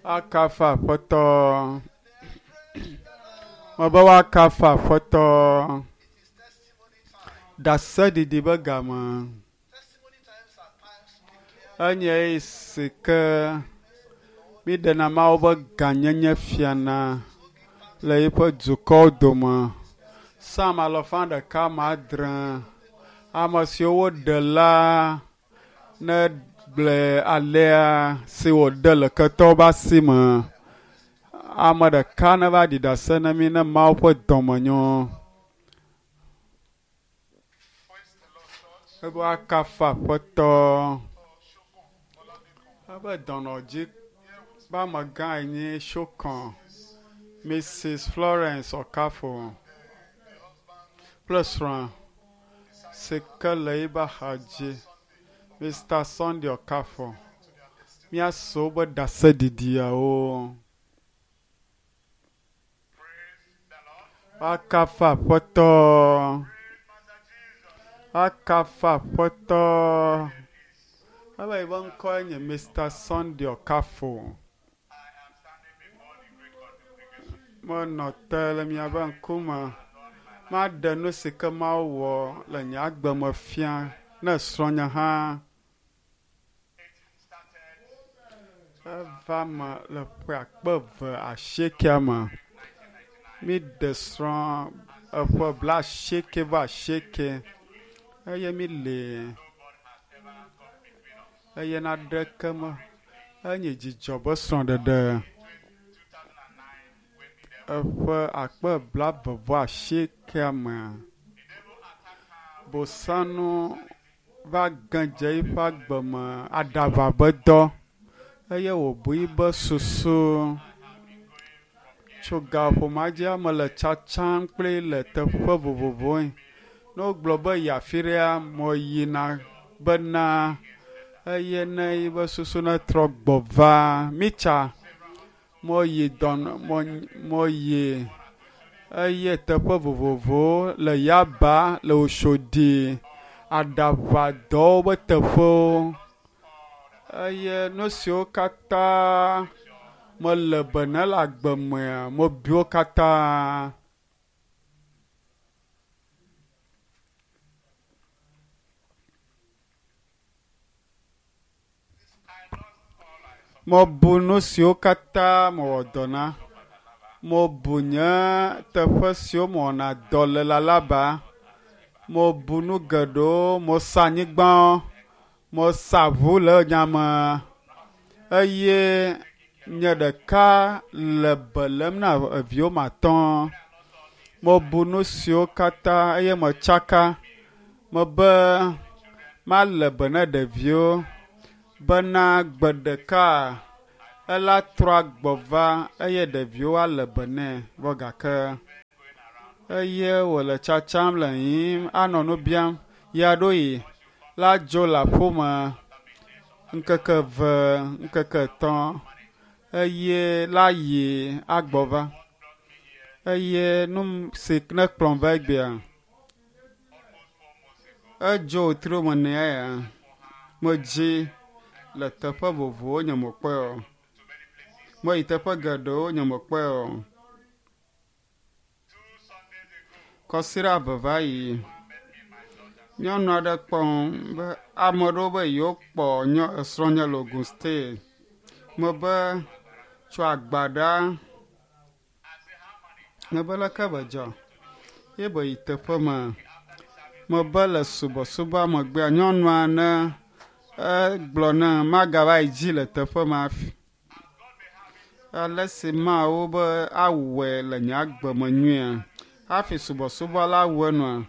Akafu Aƒetɔ. Mebe woakafu Aƒetɔ. Ɖaseɖiɖi be game. Enye eyi si ke míɖena Mawu ƒe gãnyenye fiana le eƒe dukɔwo dome. Psalm alafa ɖeka ame adre. Ame siwo woɖe la negblɔe alea si wòɖe le ketɔwo ƒe asi me. Ame ɖeka neva ɖi ɖase na mí ne Mawu ƒe dɔme nyo. Ebe woakafu Aƒetɔ. Ebe dɔnɔdzi ƒe amegãe nye Shokon, Mrs. Florence Okafo kple srɔ̃a si ke le eƒe axadzi, Mr. Sunday Okafo. Míase woƒe ɖaseɖiɖiawo. Woakafu Aƒetɔ. Woakafu Aƒetɔ. Ebe yiƒe ŋkɔe nye Mr. Sunday Okafo. Menɔ te le miaƒe ŋkume. Maɖe nu si ke Mawu wɔ le nye agbe me fia ne srɔ̃nye hã. Eva me le ƒe akpe eve asiekea me. Míɖe srɔ̃ eƒe blaasieke vɔ asieke eye míli eye naɖeke me enye dzidzɔ be srɔ̃ɖeɖe. Eƒe akpe blaeve vɔ asiekea mea, Bosanu va ge dze eƒe agbe me aɖaʋa be dɔ eye wòbu yibe susu. Tso gaƒoƒo ma dzia mele tsatsam kpli le teƒe vovovowo. Ne wogblɔ be yi afi ɖea, meyina bena eye ne yibe susu netrɔ gbɔ va mitsa. Meyi dɔnɔ meyi eye teƒe vovovowo le Yaba, le Oshodi, aɖaʋadɔwo ƒe teƒewo eye nu siwo katã mele be ne le agbe mea, mebi wo katã. Mebu nu siwo katã mewɔ dɔ na. Mebu nye teƒe siwo mewɔna dɔ le le Alaba. Mebu nu geɖewo, mesa anyigbawo, mesa ʋu le nya me eye nye ɖeka le be lém na eviwo matɔ̃. Mebu nu siwo katã eye metsaka. Mebe male be na ɖeviwo bena gbe ɖeka ela trɔ agbɔ va eye ɖeviwo ale be nɛ vɔ gake eye wòle tsatsam le yiyim anɔ nu biam ya ɖo yi la dzo le aƒeme ŋkeke eve, ŋkeke etɔ̃ eye la yi agbɔ va eye nu si ne kplɔm va egbea edzo wòtri wo me nea ya medzi le teƒe vovovowo nye mekpɔe o. Meyi teƒe geɖewo nye mekpɔe o. Kɔsiɖa eve va yi, nyɔnu aɖe kpɔm be ame aɖewo be yewokpɔ nye esrɔ̃nye le Ogun State. Mebe tso agbaɖa. Mebe leke be dzɔ ye be yi teƒe ma. Mebe le subɔsubɔa megbea nyɔnua ne egblɔ ne magava yi dzi le teƒe ma hafi. Ale si Mawu be awɔe le nye agbe me nyuia hafi subɔsubɔ la wu enua,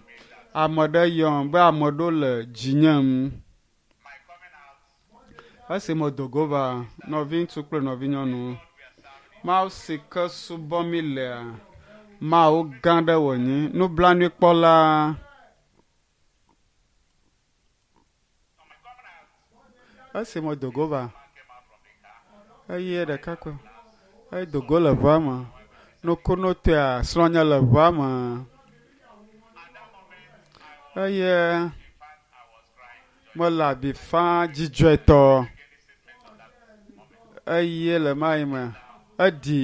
ame ɖe yɔm be ame ɖewo le dzinyem. Esi medo go va nɔviŋutsu kple nɔvinyɔnuwo, Mawu si ke subɔm mi lea, Mawu gã ɖe wònye, nublanuikpɔla. Esi medo go va eye ɖekakpui edo go le ʋua me, nukunutɔea srɔ̃nye le ʋua me eye mele avi fam dzidzɔetɔ. Eye le mayi me eɖi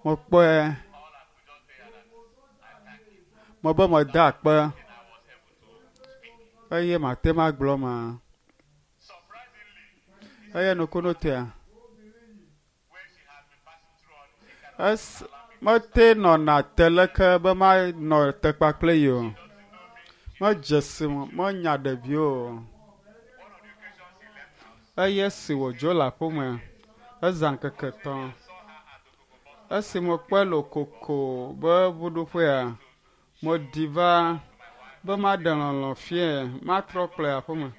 mekpɔe mebe meda akpe eye mate ŋu agblɔ ma. Eye nukunutɔea es mete nɔna te leke be manɔ te kpakple yi o. Medze si me menya ɖeviwo o. Eye esi wòdzo le aƒeme ezã ŋkeke etɔ̃. Esi mekpɔe le koko be ʋuɖoƒea, meɖi va be maɖe lɔlɔ̃ fiae, matrɔ kplɔe aƒeme.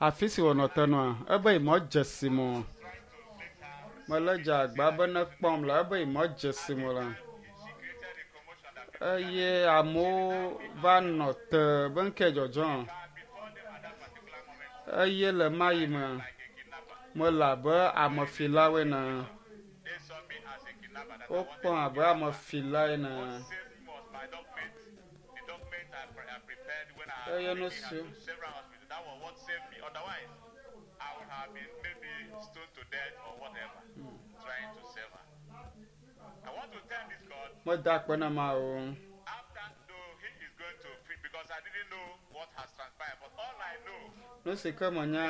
Afi si wònɔ te nɔa, ebe yemedze si me o. Melé dze agba be nekpɔm la, ebe yemedze si me o la. Eye amewo va nɔ te be ŋkee dzɔdzɔm. Eye le mayi me, mele abe amefilawo ene. Wokpɔm abe amefila ene. Eye nu si meda akpe na Mawu. Nu si ke menya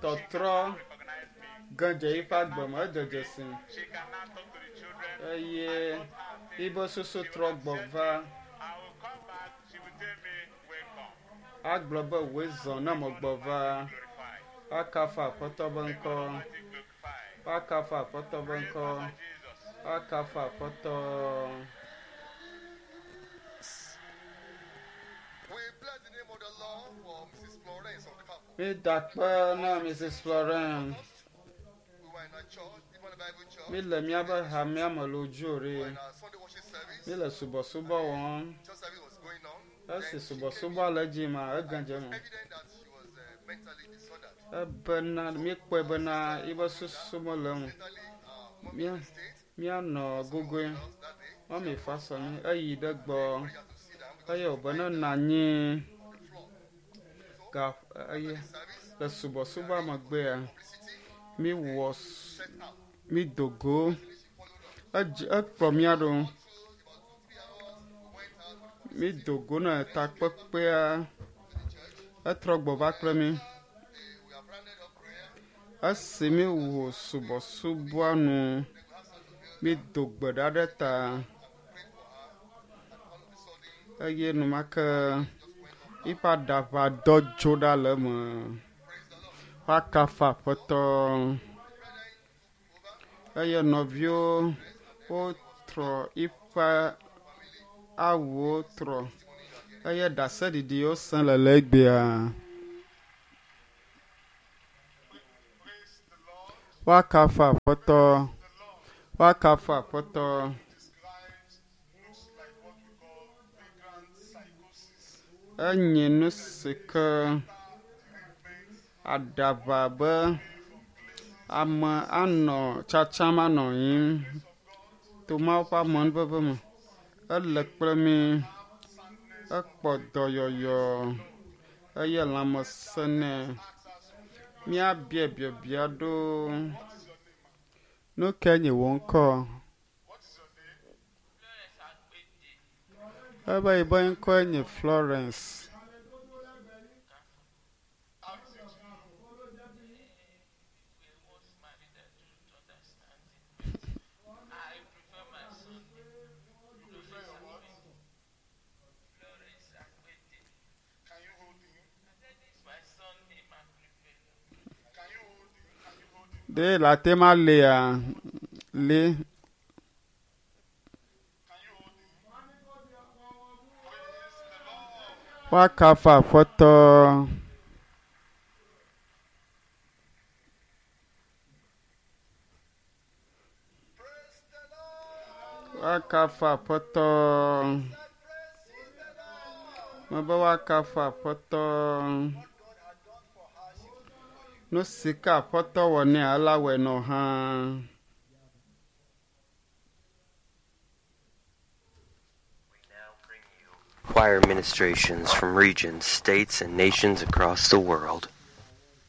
tɔtrɔ ge dze yiƒe agbe me edze dzesi eye yibe susu trɔ gbɔ va agblɔ be wòe zɔ ne megbɔ va akafu Aƒetɔ be ŋkɔ akafu Aƒetɔ be ŋkɔ akafu Aƒetɔ. We bless the name of the Lord for Mrs. Florence Okafor. Mida akpe na Mrs. Florence. We were in our church, even the Bible church. Mi le míaƒe hamea me le Odzore. We were in our Sunday worship service. Mi le subɔsubɔ wɔm. Church service was going on. Esi Then she came subɔsubɔ le edzi ma, ege in. dze It was eme. evident that she was mentally disordered. Ebena míekpɔe bena yibe susu mele ŋu. Mentally, mommy Mía in the state. míanɔ gogoe. House that day. Mɔmi fa sɔ mi eyi ɖe gbɔ She had to sit down because eye wòbe ne nɔ anyi on the floor. ga eye Service, le subɔsubɔa megbea publicity, míwɔ s- set out. mído go. She followed us. Edze ekplɔ mía ɖo. Through about 2, 3 hours, we went out for the Mído go ne takpekpea etrɔ gbɔ va kple mí. We have rounded up prayer. Esi míwɔ subɔsubɔa nu mído gbe ɖa ɖe ta Prayed for her. And all of a sudden, eye enumake just went off. yiƒe aɖaʋa dɔ dzo ɖa le eme. Praise the Lord. Woakafu Aƒetɔ. Brethren took over. Eye nɔviwo wotrɔ yiƒe awuwo trɔ eye ɖaseɖiɖiwo sẽ le le egbea. Praise the Lord. Woakafu Aƒetɔ. The Lord Woakafu Aƒetɔ. describes looks like what we call vagrant psychosis. Enye nu si ke aɖaʋa be ame anɔ tsatsam anɔ yiyim to Mawu ƒe amenuveve me. Ele kple mí. Ekpɔ dɔyɔyɔ eye lãmesẽ nɛ. Míabia biabia ɖo. Nu kae nye wò ŋkɔ? What is your name? Ebe yibe ŋkɔe nye Florence. How is it to you? You prefer your what? Can you hold him? Can you hold him? Can you hold him? Ɖe le ate ma lia li Can you hold him? Praise the Lord. woakafu Aƒetɔ. Praise the Lord. Woakafu Aƒetɔ. Praise the Lord. Mebe woakafu Aƒetɔ. What God had done for her, she will do for you. Nu si ke Aƒetɔ wɔ nɛ ela wɔe nɔ hã. We now bring you Choir ministrations from regions, states, and nations across the world.